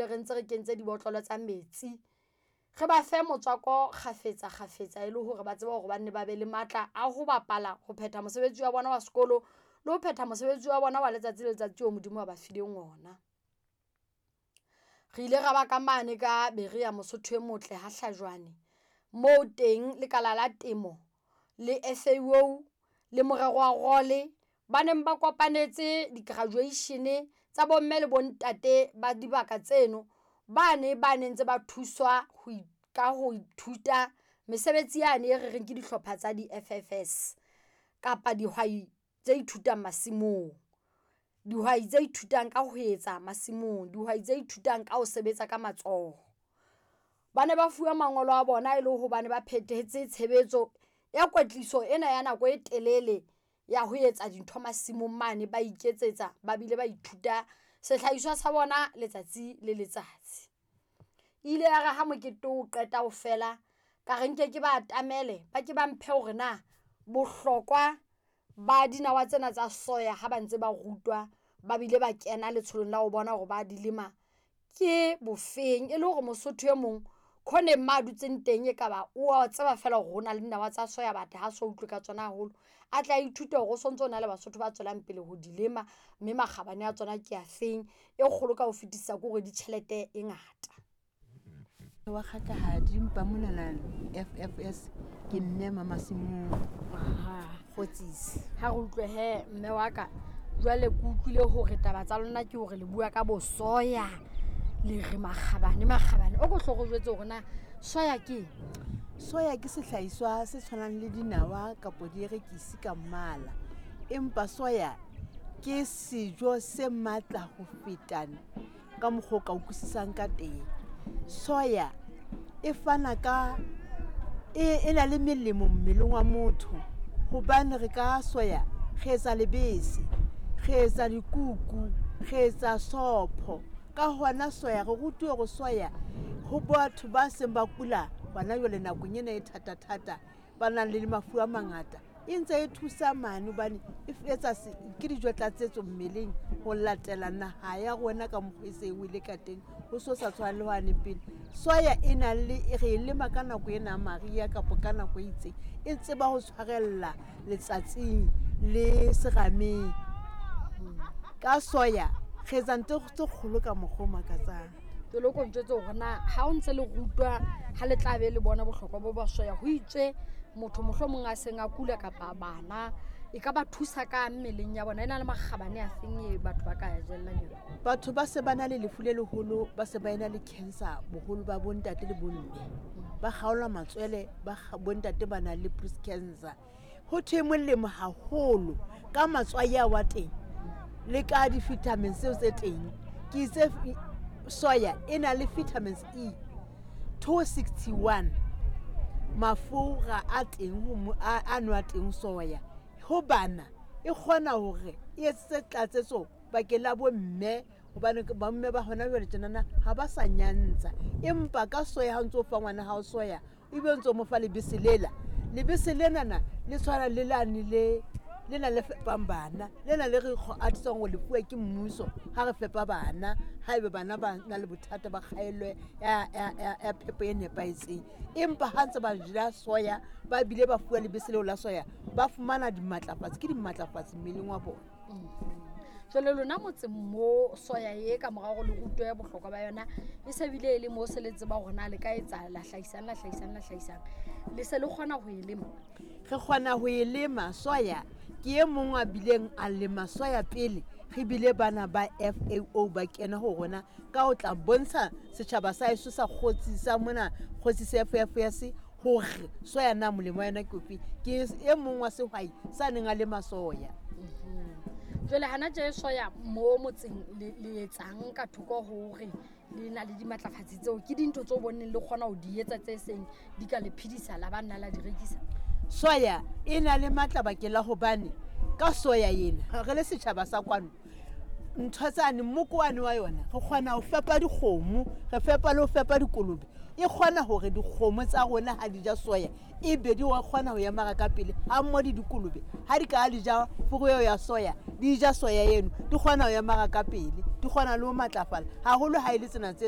dule re ntse re kentse dibotlolo tsa metsi. Re ba fe motswako kgafetsa kgafetsa e le hore ba tsebe hore ba nne ba be le matla a ho bapala, ho phetha mosebetsi wa bona wa sekolo le ho phetha mosebetsi wa bona wa letsatsi le letsatsi oo Modimo a ba fileng ona. Re ile ra ba ka mane ka Berea Mosotho e motle Ha Hlajwane, moo teng Lekala la Temo le FAO le Morero wa Role ba neng ba kopanetse di-graduation tsa bomme le bontate ba dibaka tseno. Bane ba ne ntse ba thuswa ho ka ho ithuta mesebetsi yane e re reng ke dihlopha tsa di-FFS kapa dihwai tse ithutang masimong. Dihwai tse ithutang ka ho etsa masimong, dihwai tse ithutang ka ho sebetsa ka matsoho. Ba ne ba fuwa mangolo a bona e le hobane ba phethetse tshebetso ya kwetliso ena ya nako e telele ya ho etsa dintho masimong mane, ba iketsetsa ba bile ba ithuta sehlahiswa sa bona letsatsi le letsatsi. Ile ya re ha mokete o qeta ho fela, ka re nke ke ba atamele ba ke ba mphe hore na bohlokwa ba dinawa tsena tsa soya ha ba ntse ba rutwa ba bile ba kena letsholong la ho bona hore ba di lema ke bofeng. E le hore Mosotho e mong khoneng mo a dutseng teng, ekaba wa tseba feela hore hona le dinawa tsa soya but ha so utlwe ka tsona haholo. A tla ithute hore o sontso na le Basotho ba tswelang pele ho di lema, mme makgabane a tsona ke afeng. E kgolo ka ho fetisisa ke hore di tjhelete e ngata. Wa kgatlahadi mpa monana FFS ke mme Mamasimong Kgotsisi. Ha re utlwe hee mme wa ka, jwale ke utlwile hore taba tsa lona ke hore le bua ka bo soya, le re makgabane makgabane. O ko hlo re jwetse hore na soya ke eng? Soya ke sehlahiswa se tshwanang le dinawa kapo dierekisi ka mmala, empa soya ke sejo se matla ho feta ka mokgwa o ka utlwisisang ka teng. Soya e fana ka e na le melemo mmeleng wa motho hobane re ka soya re etsa lebese, re etsa dikuku, re etsa sopho. Ka hona soya re rutuwe hore soya ho batho ba seng ba kula hona jwale nakong ena e thata-thata, ba nang le mafu a mangata, e ntse e thusa mane hobane e etsa ke dijo tlatsetso mmeleng ho latela naha ya rona ka mokgwa e se e wele ka teng, ho so sa tshwane le hwane pele. Soya e na le re e lema ka nako ena ya mariha kapa ka nako e itseng, e tseba ho tshwarella letsatsing le serameng. Ka soya re etsa ntho tse kgolo ka mokgwa o makatsang. Ke lo ko njwetse hore na ha o ntse le rutwa ha le tla be le bona bohlokwa bo ba soya, ho itswe motho mohlomong a seng a kula kapa bana e ka ba thusa ka mmeleng ya bona, e na le makgabane a feng e batho ba ka jellang yona? Batho ba se ba na le lefu le leholo, ba se ba ena le cancer boholo ba bontate le bomme, ba kgaolwa matswele, ba bontate ba nang le breast cancer. Ho thwe molemo haholo ka matswai a wa teng le ka di-vitamins tseo tse teng. Ke itse soya e na le vitamins E 261, mafura a teng a nwa teng soya. Ho bana e kgona hore e etsetse tlatsetso bakeng la bomme, hobane bomme ba hona jwale tjenana ha ba sa nyantsha, empa ka soya ha o ntso fa ngwana hao soya ebe o ntso mo fa lebese lela, lebese lenana le tshwana le lane le lena le fepang bana, lena le re atisang ho lefuwa ke mmuso ha re fepa bana, haebe bana ba na le bothata ba kgaello ya phepo e nepahetseng. Empa ha ntse ba ja soya, ba bile ba fuwa lebese leo la soya, ba fumana dimatlafatsi, ke dimatlafatsi mmeleng wa bona. Jwale lona motseng mo soya e ka mora hore le rutwe bohlokwa ba yona, e se bile e le mo se le tseba hore na le ka etsa la hlahisang, la hlahisang, la hlahisang, le se le kgona ho e lema? Re kgona ho e lema soya. Ke e mong a bileng a lema soya pele re bile bana ba FAO ba kena ho rona ka ho tla bontsha setjhaba sa heso sa Kgotsi sa mona Kgotsi sa FFS hore soya na molemo wa yona ke ofe. Ke e mong wa sehwai sa neng a lema soya. Jwale hana tje soya mo motseng le etsang ka thoko hore le na le dimatlafatsi tseo, ke dintho tseo bonneng le kgona ho di etsa tse seng di ka le phedisa la ba nna la di rekisa? Soya e na le matla bakeng la hobane ka soya ena re le setjhaba sa kwano, ntho tsane mmokoane wa yona re kgona ho fepa dikgomo, re fepa le ho fepa dikolobe. E kgona hore dikgomo tsa rona ha di ja soya e be di kgona ho emara ka pele, ha mmoho le dikolobe ha di ka di ja furu eo ya soya, di ja soya eno di kgona ho emara ka pele, di kgona le ho matlafala haholo ha e le tsena tse